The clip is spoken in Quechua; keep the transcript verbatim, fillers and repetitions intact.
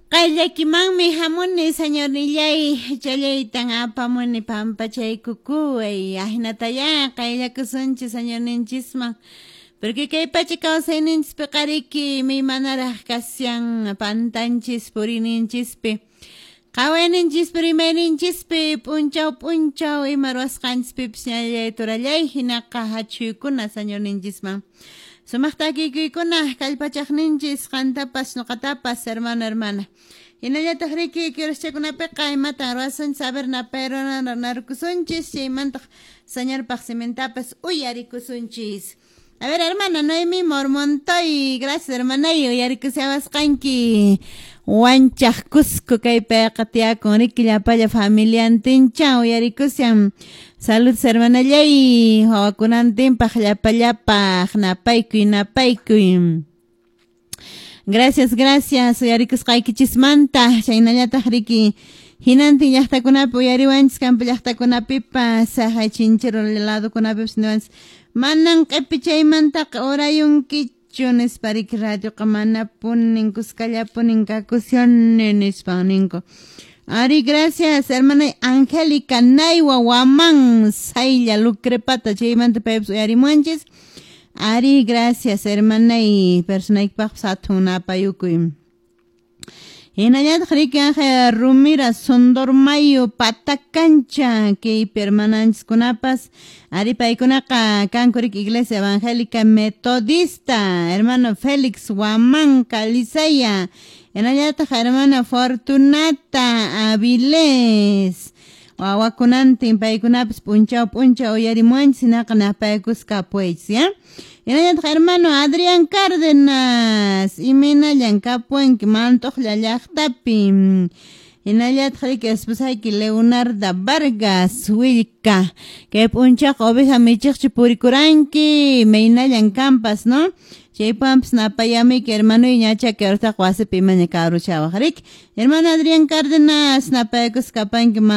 Qayllakimanmi hamuni, Señornillay, challaytan apamuni pampachaykukuway. Ahinatayá qayllakusunchis Señorninchisman. Porque kay pacha kawsayninchispiqa qariki manaraq kashan pantanchis puriyninchispi. Qhawayninchispi rimayninchispi p'unchaw p'unchaw ima ruwasqanchispipis ñallay turallay hinaqa hachuykuna Señorninchisman. Sumaq takikuykuna kallpachaqninchis qantapas ñuqatapas hermano, hermana. Hinallataq riki kiruschakunapiqa imatan ruwasunchis a ver napayrunarukusunchis chaymantaq Señorpaq simintapas uyarikusunchis. A ver, hermana Noemi Mormontoy, gracias, hermanay, uyarikushawasqanki. Wanchaq Cusco kaypiqa tiyakun riki llapalla familiantincha uyarikushan. Saludos, hermanallay, wawakunantinpaq llapallapaq napaykuy napaykuy. Gracias, gracias, uyarikusqaykichismanta, chaynallataq riki hinantin llaqtakunapi uyariwanchis campo llaqtakunapipas haqay chinchero ladokunapipas niwanchis manan q'ipichaymantaqa urayunkichu nispa riki radioqa manapunin kuskallapunin kakushani nispan ninku. Ari, gracias, hermana Angélica Naywa Waman Saylla Lucrepata chaymanta paypas uyarimuwanchis. Ari, gracias, hermana y personaykipaqpas hatun napayukuy. Hinallataq riki Rumira Sondormayo Patacancha kaypi hermananchiskunapas ari paykunaqa kanku riki Iglesia Evangélica Metodista, hermano Félix Huamán Calizaya, hinallataq hermana Fortunata Avilés wawakunantin paykunapas p'unchaw p'unchaw uyarimuwanchis hinaqa napaykusqa kapuychis ya. Hinallataq hermano Adrián Cárdenas imaynallan kapuwanki Mantuqlla llaqtapi. Hinallataq riki esposayki Leonarda Vargas Willka kay p'unchawqa oveja michiqchi purikuranki imaynallan kampas, no? Chaypampas napayamuyki hermanoy ñacha kay wasipi imaña karuchawaq riki. Hermano Adrián Cárdenas napaykusqa kapanki.